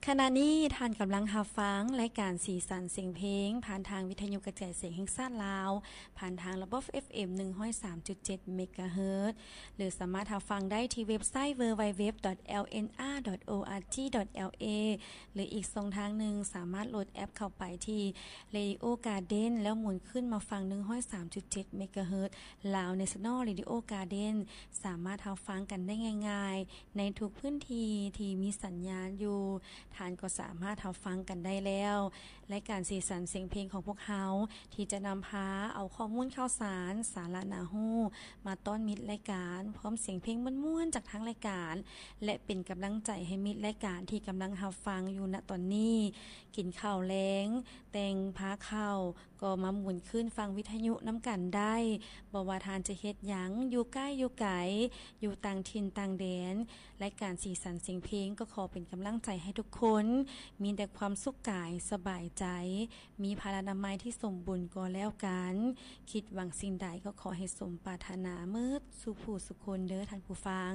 ຂະນະນີ້ທ່ານກຳລັງຮັບຟັງລາຍການສີສັນສຽງເພງ ຜ່ານທາງວິທະຍຸກະຈາຍສຽງແຫ່ງຊາດລາວ ຜ່ານທາງລະບົບ ເອັຟເອັມ ໜຶ່ງຮ້ອຍສາມຈຸດເຈັດ ເມກາເຮີດ ຫຼືສາມາດຮັບຟັງໄດ້ທີ່ເວັບໄຊ ดัບເບິນຢູດັບເບິນຢູດັບເບິນຢູ ດອດ ແອລເອັນອາ ດອດ ໂອອາຈີ ດອດ ແອລເອ ຫຼືອີກຊ່ອງທາງໜຶ່ງ ສາມາດໂຫຼດແອັບເຂົ້າໄປທີ່ ເຣດິໂອກາເດັນ ແລ້ວໝູນຂຶ້ນມາຟັງ ໜຶ່ງຮ້ອຍສາມຈຸດເຈັດ ເມກາເຮີດ ລາວເນຊັນນອລເຣດິໂອກາເດັນ ສາມາດຮັບຟັງກັນໄດ້ງ່າຍໆ ໃນທຸກພື້ນທີ່ທີ່ມີສັນຍານຢູ່. ທ່ານກໍສາມາດຮັບຟັງກັນໄດ້ແລ້ວ. ລາຍການສີສັນສຽງເພງຂອງພວກເຮົາ ທີ່ຈະນຳພາເອົາຂໍ້ມູນຂ່າວສານ, ສາລະໜ້າຮູ້ ມາຕ້ອນມິດລາຍການ, ພ້ອມສຽງເພງມ່ວນໆຈາກທາງລາຍການ ແລະ ເປັນກຳລັງໃຈໃຫ້ມິດລາຍການທີ່ກຳລັງຮັບຟັງຢູ່ນະຕອນນີ້ ກິນເຂົ້າແລງ, ແຕ່ງພາເຂົ້າ ກໍມາໝູນຄື້ນຟັງວິທະຍຸນຳກັນໄດ້. ບໍ່ວ່າທ່ານຈະເຮັດຫຍັງ, ຢູ່ໃກ້ຢູ່ໄກ, ຢູ່ຕ່າງຖິ່ນຕ່າງແດນ, ລາຍການສີສັນສຽງເພງກໍຂໍເປັນກຳລັງໃຈໃຫ້ທຸກຄົນ ມີແຕ່ຄວາມສຸກກາຍສະບາຍໃຈ, ມີພະລານາໄມທີ່ສົມບູນກໍແລ້ວກັນ. ຄິດຫວັງສິ່ງໃດກໍຂໍໃຫ້ສົມປາດຖະໜາເໝິດສູ່ຜູ້ສຸຄົນເດີທ່ານຜູ້ຟັງ.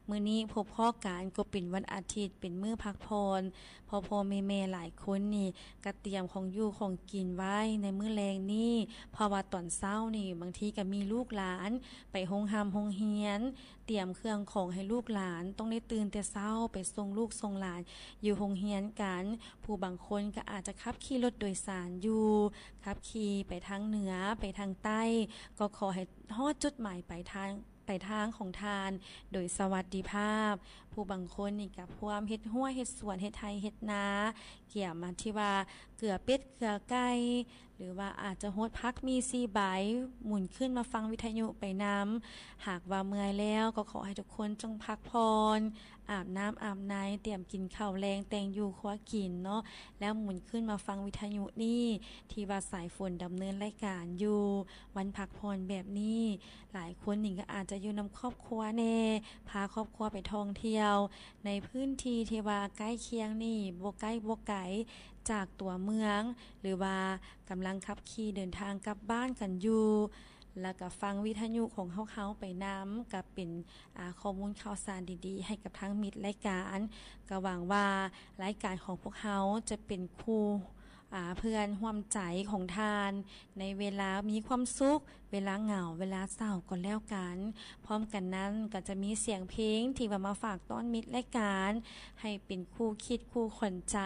ມື້ນີ້ພົບພໍ້ກັນກໍເປັນວັນອາທິດ, ເປັນມື້ພັກຜ່ອນ. ພໍ່ໆແມ່ໆຫຼາຍຄົນນີ້ກະຕຽມຂອງຢູ່ຂອງກິນໄວ້ໃນມື້ແລງນີ້, ເພາະວ່າຕອນເຊົ້ານີ້ບາງທີກະມີລູກຫຼານໄປໂຮງຮ່ຳໂຮງຮຽນ, ຕຽມເຄື່ອງຂອງໃຫ້ລູກຫຼານຕ້ອງໄດ້ຕື່ນແຕ່ເຊົ້າໄປສົ່ງລູກສົ່ງຫຼານຢູ່ໂຮງຮຽນກັນ. ຜູ້ບາງຄົນກະອາດຈະຂັບຂີ່ລົດໂດຍສານຢູ່, ຂັບຂີ່ໄປທາງເໜືອ, ໄປທາງໃຕ້, ກໍຂໍໃຫ້ຮອດຈຸດໝາຍປາຍທາງ ປາຍທາງຂອງທ່ານໂດຍສະຫວັດດີພາບ. ຜູ້ບາງຄົນນີ້ກະພວມເຮັດຮົ້ວເຮັດສວນ ເຮັດໄຮ່ເຮັດນາ, ກຽມມາທີ່ວ່າເກືອເປັດເກືອໄກ່ ຫຼືວ່າອາດຈະຫົດຜັກໝີ່ສີ່ໃບ, ໝູນຄື້ນມາຟັງວິທະຍຸໄປນຳ. ຫາກວ່າເມື່ອຍແລ້ວກໍຂໍໃຫ້ທຸກຄົນຈົ່ງພັກຜ່ອນ, ອາບນ້ຳອາບໃນ, ຕຽມກິນເຂົ້າແລງ, ແຕ່ງຢູ່ຄົວກິນເນາະ, ແລ້ວໝູນຄື້ນມາຟັງວິທະຍຸນີ້ ທີ່ວ່າສາຍຝົນດຳເນີນລາຍການຢູ່. ວັນພັກຜ່ອນແບບນີ້ ຫຼາຍຄົນນີ້ກໍອາດຈະຢູ່ນຳຄອບຄົວແດ່, ພາຄອບຄົວໄປທ່ອງທ່ຽວໃນພື້ນທີ່ທີ່ວ່າໃກ້ຄຽງນີ້ ບໍ່ໃກ້ບໍ່ໄກຈາກຕົວເມືອງ ຫຼືວ່າກຳລັງຂັບຂີ່ເດີນທາງກັບບ້ານກັນຢູ່, ແລ້ວກໍຟັງວິທະຍຸຂອງພວກເຮົາໄປນຳ ກໍເປັນ ອາ ຂໍ້ມູນຂ່າວສານດີໆໃຫ້ກັບທາງມິດລາຍການ. ກໍຫວັງວ່າລາຍການຂອງພວກເຮົາຈະເປັນຄູ່ ອາ ເພື່ອນຮ່ວມໃຈຂອງທ່ານ ໃນເວລາມີຄວາມສຸກ, ເວລາເຫງົາ, ເວລາເສົ້າກໍແລ້ວກັນ. ພ້ອມກັນນັ້ນກໍຈະມີສຽງເພງທີ່ວ່າມາຝາກຕ້ອນມິດລາຍການ ໃຫ້ເປັນຄູ່ຄິດຄູ່ຂວັນໃຈ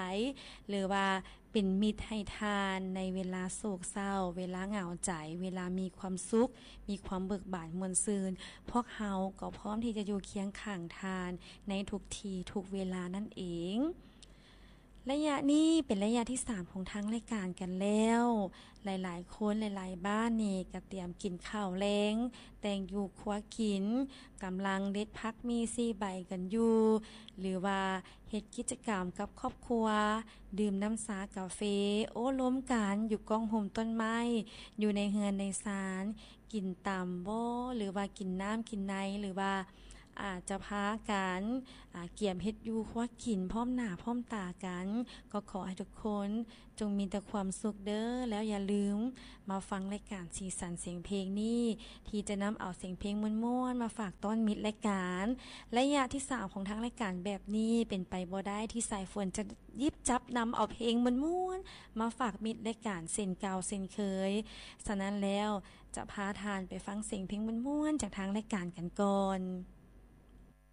ຫຼືວ່າເປັນມິດໃຫ້ທ່ານໃນເວລາໂສກເສົ້າ, ເວລາເຫງົາໃຈ, ເວລາມີຄວາມສຸກ, ມີຄວາມເບີກບານມ່ວນຊື່ນ. ພວກເຮົາກໍພ້ອມທີ່ຈະຢູ່ຄຽງຂ້າງທ່ານໃນທຸກທີ່ທຸກເວລານັ້ນເອງ. ໄລຍະນີ້ເປັນໄລຍະທີສາມຂອງທາງລາຍການກັນແລ້ວ. ຫຼາຍໆຄົນ ຫຼາຍໆບ້ານນີ້ກະຕຽມກິນເຂົ້າແລງ, ແຕ່ງຢູ່ຄົວກິນ, ກຳລັງເດັດຜັກໝີ່ສີ່ໃບກັນຢູ່ ຫຼືວ່າເຮັດກິດຈະກຳກັບຄອບຄົວ, ດື່ມນ້ຳຊາກາເຟ, ໂອ້ລົມກັນຢູ່ກ້ອງຮົ່ມຕົ້ນໄມ້ ຢູ່ໃນເຮືອນໃນຊານ, ກິນຕຳບໍ ຫຼືວ່າກິນນ້ຳກິນໃນ ຫຼືວ່າ ອາດຈະພາກັນ ອາ ກຽມເຮັດຢູ່ຄົວກິນພ້ອມໜ້າພ້ອມຕາກັນ. ກໍຂໍໃຫ້ທຸກຄົນຈົ່ງມີແຕ່ຄວາມສຸກເດີ. ແລ້ວຢ່າລືມມາຟັງລາຍການສີສັນສຽງເພງນີ້ ທີ່ຈະນຳເອົາສຽງເພງມ່ວນໆມາຝາກຕ້ອນມິດລາຍການ. ໄລຍະທີສາມຂອງທາງລາຍການແບບນີ້ ເປັນໄປບໍ່ໄດ້ທີ່ສາຍຝົນຈະ ຫຍິບຈັບນຳເອົາເພງມ່ວນໆມາຝາກມິດລາຍການເຊັ່ນເກົ່າເຊັ່ນເຄີຍ. ສະນັ້ນແລ້ວ ຈະພາທ່ານໄປຟັງສຽງເພງມ່ວນໆຈາກທາງລາຍການກັນກ່ອນ.